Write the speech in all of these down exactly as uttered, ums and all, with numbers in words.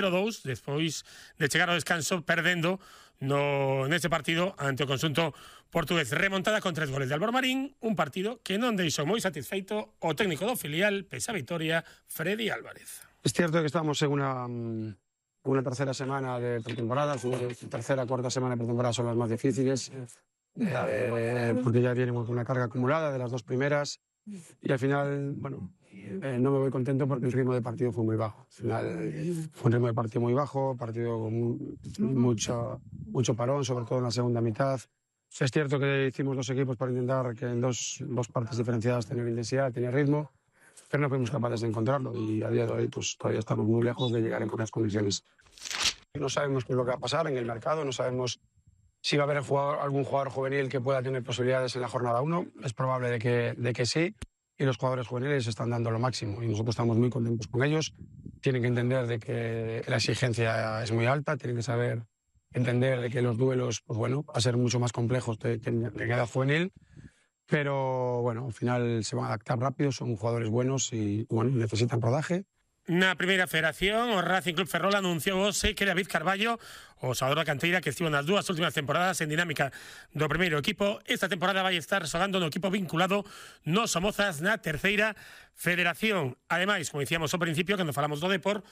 cero dos, despois de chegar ao descanso perdendo no neste partido ante o conxunto portugués. Remontada con tres goles de Álvaro Marín, un partido que non deixou moi satisfeito o técnico do filial, pese a vitória, Freddy Álvarez. Es cierto que estamos en una, una tercera semana de pretemporada, su tercera, cuarta semana de pretemporada son las más difíciles, eh, porque ya viene una carga acumulada de las dos primeras y al final, bueno, eh, no me voy contento porque el ritmo de partido fue muy bajo. Al final fue un ritmo de partido muy bajo, partido con mucho, mucho parón, sobre todo en la segunda mitad. Es cierto que hicimos dos equipos para intentar que en dos, dos partes diferenciadas tener intensidad, tener ritmo, pero no fuimos capaces de encontrarlo y a día de hoy pues, todavía estamos muy lejos de llegar en buenas condiciones. No sabemos qué es lo que va a pasar en el mercado, no sabemos si va a haber jugador, algún jugador juvenil que pueda tener posibilidades en la jornada uno. Es probable de que, de que sí, y los jugadores juveniles están dando lo máximo y nosotros estamos muy contentos con ellos. Tienen que entender de que la exigencia es muy alta, tienen que saber entender de que los duelos pues bueno, van a ser mucho más complejos que en edad juvenil. Pero bueno, al final se van a adaptar rápido, son jugadores buenos y bueno, necesitan rodaje. Na primeira federación, o Racing Club Ferrol anunciou hoxe que David Carballo, o xogador da canteira que estivo nas dúas últimas temporadas en dinámica do primeiro equipo, esta temporada vai estar xogando no equipo vinculado nos Somozas na terceira federación. Ademais, como dicíamos ao principio, cando falamos do Depor,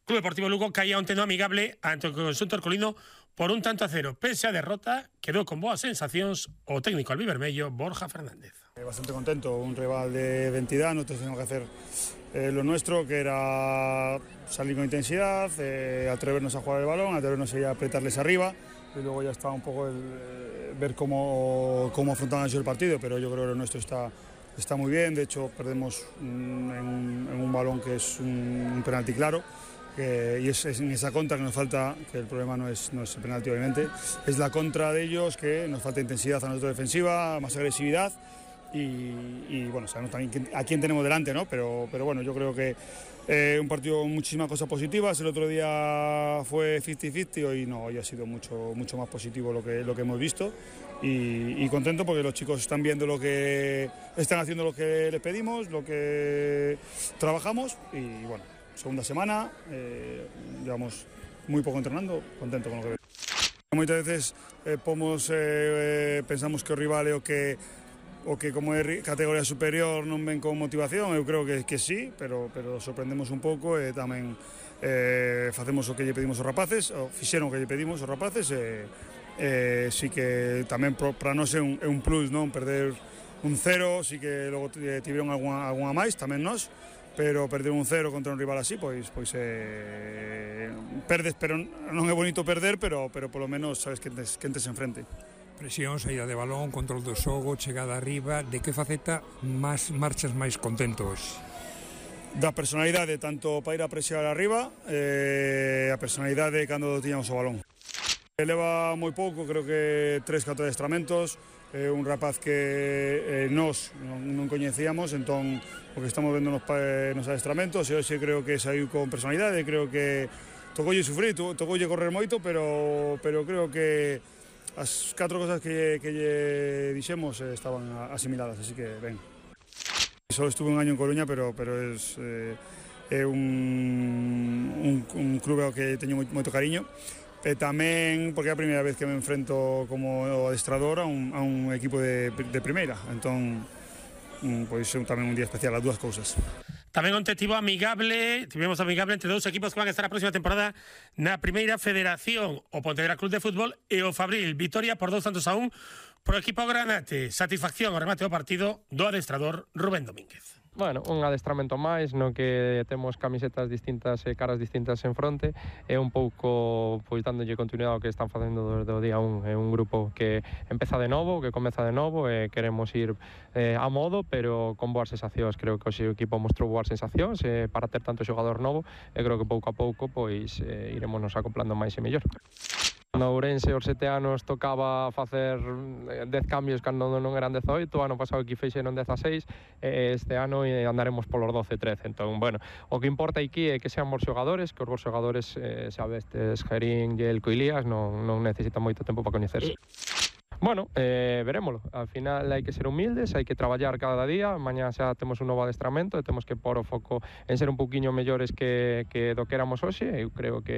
Club Deportivo Lugo caía onte no amigable ante o conxunto herculino por un tanto a cero. Pese a derrota, quedou con boas sensacións o técnico albivermello Borja Fernández. Bastante contento, un rival de, de entidad, nosotros tenemos que hacer eh, lo nuestro, que era salir con intensidad, eh, atrevernos a jugar el balón, atrevernos a apretarles arriba y luego ya está un poco el, eh, ver cómo, cómo afrontaban ellos el partido, pero yo creo que lo nuestro está, está muy bien, de hecho perdemos mm, en, en un balón que es un, un penalti claro. Eh, y es, es en esa contra que nos falta, que el problema no es, no es el penalti obviamente, es la contra de ellos, que nos falta intensidad a nosotros defensiva, más agresividad y, y bueno, sabemos también a quién tenemos delante, ¿no? Pero, pero bueno, yo creo que eh, un partido con muchísimas cosas positivas, el otro día fue cincuenta cincuenta, hoy no, hoy ha sido mucho, mucho más positivo lo que, lo que hemos visto y, y contento porque los chicos están viendo lo que, están haciendo lo que les pedimos, lo que trabajamos y bueno, segunda semana, eh, llevamos muy poco entrenando, contento con lo que veo. Moitas veces eh, pomos, eh, pensamos que o rival é o que o que como é categoría superior non ven con motivación, eu creo que, que sí, pero, pero sorprendemos un pouco e tamén eh, facemos o que lle pedimos aos rapaces, o fixeron o que lle pedimos aos rapaces e eh, sí que tamén para nós é un, é un plus, non perder un cero, sí que logo tiveron alguna, alguna máis, tamén nós, pero perder un cero contra un rival así, pois pois eh, perdes, pero non é bonito perder, pero pero polo menos sabes que tes, que tes enfrente. Presión, saída de balón, control do xogo, chegada arriba, de que faceta máis marchas máis contentos? Da personalidade, tanto para ir a presionar arriba, eh, a personalidade cando tiñamos o balón. Leva moi pouco, creo que tres, catro adestramentos, é un rapaz que eh, nós non, non coñecíamos, entón o que estamos vendo nos, nos adestramentos, e hoxe creo que saiu con personalidade, creo que tocoulle sufrir, to, tocoulle correr moito, pero, pero creo que as catro cosas que, que lle dixemos eh, estaban asimiladas, así que ben. Só estuve un año en Coruña, pero, pero es, eh, é un, un, un clube ao que teño moito cariño, e tamén porque é a primeira vez que me enfrento como adestrador a un, a un equipo de, de primeira, entón pois é tamén un día especial, as dúas cousas. Tamén onte tivo amigable, tivemos amigable entre dous equipos que van a estar a próxima temporada na primeira federación, o Pontevedra Club de Fútbol e o Fabril. Vitoria por dous tantos a un pro equipo granate. Satisfacción ao remate do partido do adestrador Rubén Domínguez. Bueno, un adestramento máis no que temos camisetas distintas e caras distintas en fronte e un pouco pois dándolle continuidade ao que están facendo desde o día un. É un grupo que empeza de novo, que comeza de novo e queremos ir eh, a modo, pero con boas sensacións. Creo que o equipo mostrou boas sensacións eh, para ter tanto xogador novo e creo que pouco a pouco pois eh, iremos nos acoplando máis e mellor. No Ourense os sete anos tocaba facer dez cambios cando non eran dezoito, o ano pasado que fixeron dezaseis, e este ano andaremos polos doce, trece. Entón, bueno, o que importa aquí é que sean bons xogadores, que os bons xogadores, eh, sabestes, Gerín, Yelko e Ilías, non, non necesitan moito tempo para coñecerse. Bueno, eh, verémoslo. Al final hai que ser humildes, hai que traballar cada día. Mañá xa temos un novo adestramento e temos que pôr o foco en ser un pouquiño mellores que, que do que éramos hoxe. Eu creo que